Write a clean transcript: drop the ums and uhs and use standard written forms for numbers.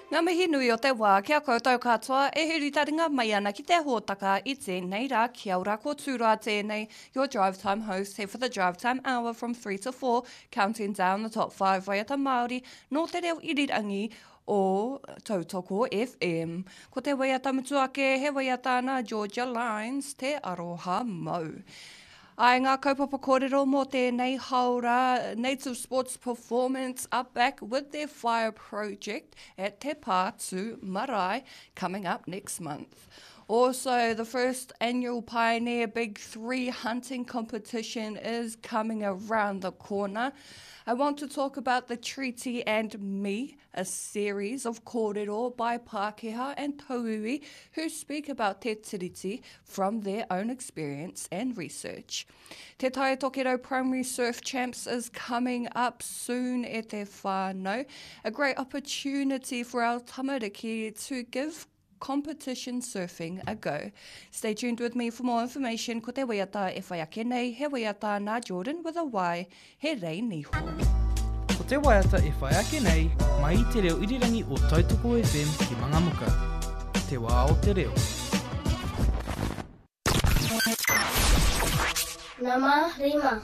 Ngā mihi nui o te wā ki a koutou katoa e huri taringa mai ana ki te hōtaka i tēnei rā. Kia ora, ko Tūroa tēnei, your drive time host here for the drive time hour from 3 to 4, counting down the top 5 waiata Māori nō te reo irirangi o Tautoko FM. Ko te waiata mutu ake, he waiata nā Georgia Lines, Te Aroha Mau. Ai ngā kaupapa kōrero mō tēnei haora, Native Sports Performance are back with their fire project at Te Pātū Marae coming up next month. Also, the first annual Pioneer Big 3 hunting competition is coming around the corner. I want to talk about the treaty and me, a series of kōrero by Pākehā and Tauiwi who speak about Te Tiriti from their own experience and research. Te Tai Tokerau Primary Surf Champs is coming up soon e te whānau. A great opportunity for our tamariki to give competition surfing a go. Stay tuned with me for more information. Ko te waiata e whai ake nei, he waiata nā Jordan with a Y, he rei niho. Ko te waiata e whai ake nei, mai i te reo irirangi o Tautoko FM ki Mangamuka. Te wā o te reo. Nama rima.